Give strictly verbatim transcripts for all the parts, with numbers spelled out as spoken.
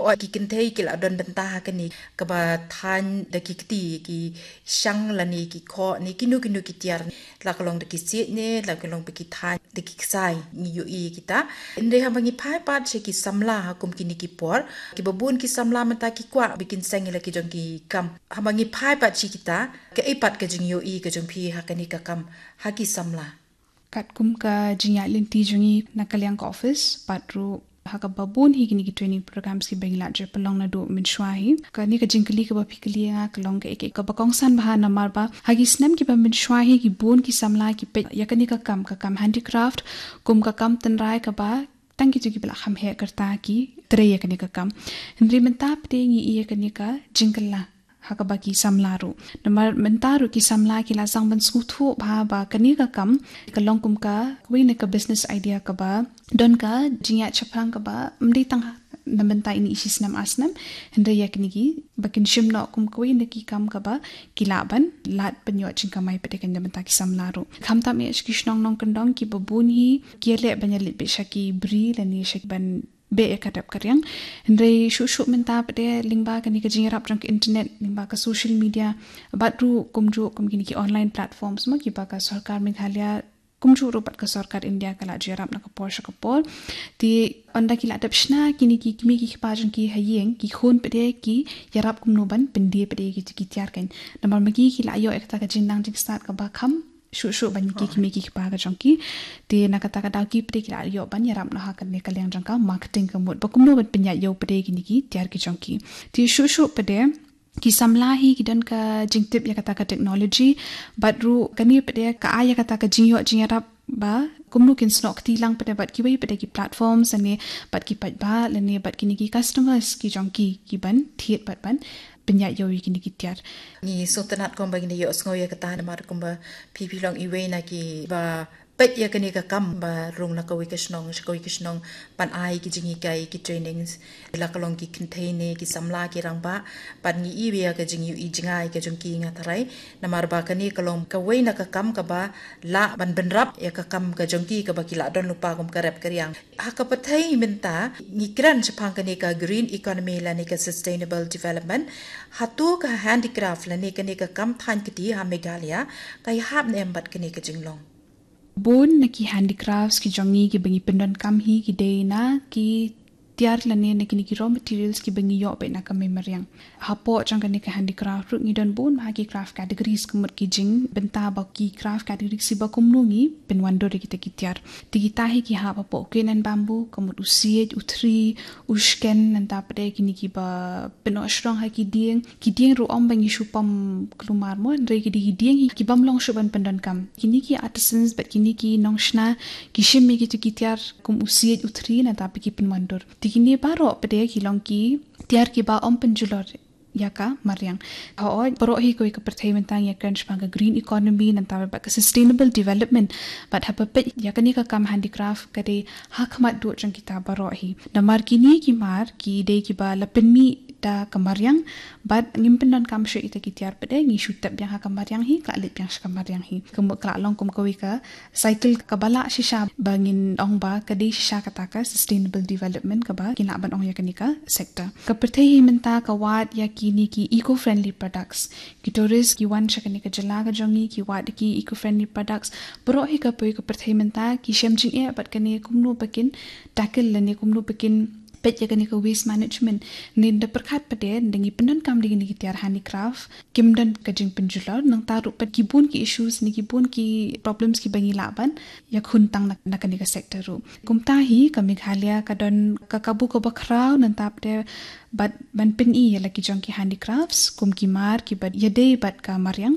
O ki kynthei ki la don bynta ha kane kaba thaiñ da ki kti, ki shang lane ki khoh ne kino kino ki tiar, la ka long da ki siej ne la ka long ba ki thaiñ da ki ksai, ngi ïohi kita. Hynrei haba ngi phai pat sha ki samla ha kum kine ki por, kiba bun ki samla mynta ki kwah ba kin seng ïa la ki jong ki kam. Haba ngi phai pat sha kita, kaei pat ka jingïohi ka jong phi ha kane ka kam ha ki samla? Katkum ka jingïaid lynti jong ngi na ka liang ka office, pat ruh ha kaba bun hi kine ki training programs kiba ngi la jop pynlong naduh mynshuwa hi. Kane ka jingkylli kaba phi kylli ïa nga ka long kaei kaei kaba kongsan bha namar ba ha ki snem kiba mynshuwa hi ki bun ki samla ki peit ïa kane ka kam, ka kam handicraft kum ka kam tynrai kaba tang kito kiba la kham heh kyrta ki trei ïa kane ka kam. Hynrei mynta pat ngi ïohi ïa kane ka jingkylla ha kaba ki samla ruh. Namar mynta ruh ki samla ki la sdang ban sngewthuh bha ba kane ka kam ka long kum ka kawei na ka business idea kaba don ka jingïaid shaphrang kaba ym dei tang na bynta ine i shisnem arsnem, hynrei ïa kine kiba kin shim noh kum kawei na ki kam kaba ki lah ban lad pynïoh jingkamai pat ïa kane na bynta ki samla ruh. Khamtam ïa ki shnong nongkyndong kiba bun hi ki ïaleh ban ïaleit beit sha ki bri lane sha ki ban beh ïa ka dep ka riang. Hynrei shuh shuh mynta pat lyngba kane ka jingïarap jong ka internet, lyngba ka social media, bad ruh kumjuh kum kine ki online platforms mo kiba ka sorkar Meghalaya kumjuh ruh bad ka sorkar India ka la ju ïarap na ka por sha ka por. Te ynda ki la dep shna kine ki kmie ki kpa jong ki ha ïing, ki khun pat ki ïarap kumno ban pyndie pat ïa kito ki tiar kan. Namar ma ki ki la ïoh ïa kata ka jingnang jingstad kaba kham shuh shuh ban ïa ki kmie ki kpa ka jong ki. Te na kata ka daw ki pat ki la ïoh ban ïarap noh ha kane ka liang jong ka marketing ka mut ba kumno ban pynïaid ïew pat ïa kine ki tiar ki jong ki. Te shuh shuh pat ki samla hi ki don ka jingtip ïa kata ka technology, bad ruh kane pat ka ai ïa kata ka jingïoh jingïarap ba kumno kin snoh kti lang pat bad kiwei pat ki platforms lane bad ki paidbah lane bad kine ki customers ki jong ki, ki ban thied bad ban pynïaid ïew ïa kine ki tiar. Ngi sngewtynnat kumba ngin ïohsngew ïa kata namar kumba phi phi long iwei na kiba peit ïa kane ka kam ba rung na kawei ka shnong sha kawei ka shnong ban ai ki jinghikai, ki trainings, la ka long ki kynthei ne ki samla ki rangbah, bad ngi ïohi ïa ka jingïohi jngai ka jong ki, nga tharai. Namar ba kane ka long kawei na ka kam kaba lah ban bynrap ïa ka kam ka jong ki kaba ki la don lypa kum ka rep ka riang. Ha ka pyrthei mynta ngi kren shaphang kane ka green economy lane ka sustainable development. Hato ka handicraft lane kane ka kam thaiñ kti ha Meghalaya ka ïahap ne em bad kane ka jinglong? Bun na ki handicrafts ki jong ngi kiba ngi pyndonkam hi ki dei na ki tiar lane na kine ki raw materials kiba ngi ïoh beit na ka mei mariang. Hapoh jong kane ka handicraft ruh ngi don bun bha ki craft categories ka mut ki jingbynta ba ki craft categories kiba kumno ngi pynwandur ïa kita ki tiar. Te kita hi ki hap hapoh u kain and bamboo, ka mut u siej, u thri, u shken, nangta pat kine kiba pynnoh shrong ha ki dieng. Ki dieng ruh ym ba ngi shu pom kulmar mo, hynrei ki dei ki dieng hi ki bym long shuh ban pyndonkam. Kine ki artisans bad kine ki nongshna ki shim ïa kito ki tiar kum u siej, u thri, nangta pat ki pynwandur. Te kine baroh pat ki long ki tiar kiba ym pynjulor ïa ka mariang. Hooid, baroh hi kawei ka pyrthei mynta ngi ïakren shaphang ka green economy nangta bad ka sustainable development. Bad haba peit ïa kane ka kam handicraft ka dei ha khmat duh jong kita baroh hi. Namar kine ki mar ki dei kiba la pynmih da ka mariang, bad ngim pyndonkam shuh ita ki tiar pat, ngi shu tep biang ha ka mariang hi, ka la leit biang sha ka mariang hi. Ka mut ka la long kum kawei ka cycle kaba lah shisha ba ngin ong ba ka dei shisha kata ka sustainable development kaba ngin lah ban ong ïa kane ka sector. Ka pyrthei hi mynta ka wad ïa kine ki eco-friendly products. Ki tourist ki wan sha kane ka jylla ka jong ngi ki wad ki eco-friendly products. Baroh hi ka poi ka pyrthei mynta ki shem jingeh bad kane kumno ba kin tackle lane kumno ba kin peit ïa kane ka waste management. Ngi da pyrkhat pat, da ngi pyndonkam da kine ki tiar handicraft, kim don ka jingpynjulor, nangta ruh pat ki bun ki issues ne ki bun ki problems kiba ngi lah ban ïakhun tang na, na kane ka sector ruh. Kumta hi ka Meghalaya ka don ka kabu kaba khraw nangta pat bad ban pyni ïa la ki jong ki handicrafts kum ki mar kiba ïadei bad ka mariang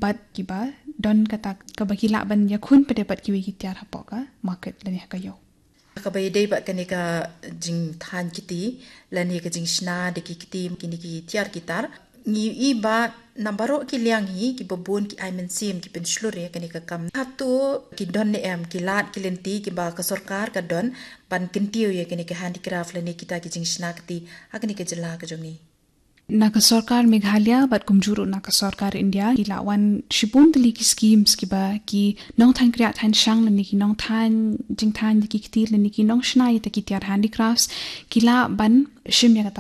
bad kiba don kata kaba ki lah ban ïakhun pat bad kiwei ki tiar hapoh ka market lane ha ka ïew. Kaba ïadei bad kane ka jingthaiñ kti lane ka jingshna da ki kti kine ki tiar ki tar, ngi ïohi ba na baroh ki liang hi kiba bun ki ai mynsiem ki pynshlur ïa kane ka kam. Hato ki don ne em ki lad ki lynti kiba ka sorkar ka don ban kyntiew ïa kane ka handicraft lane kita ki jingshna kti ha kane ka jylla ka jong ngi? Na ka sorkar Meghalaya bad kumjuh ruh na ka sorkar India ki la wan shibun tylli ki schemes kiba ki nongthaiñ kriah thaiñ shang lane ki nongthaiñ jingthaiñ da ki kti lane ki nongshna ïa kita ki tiar handicrafts ki lah ban shim ïa kata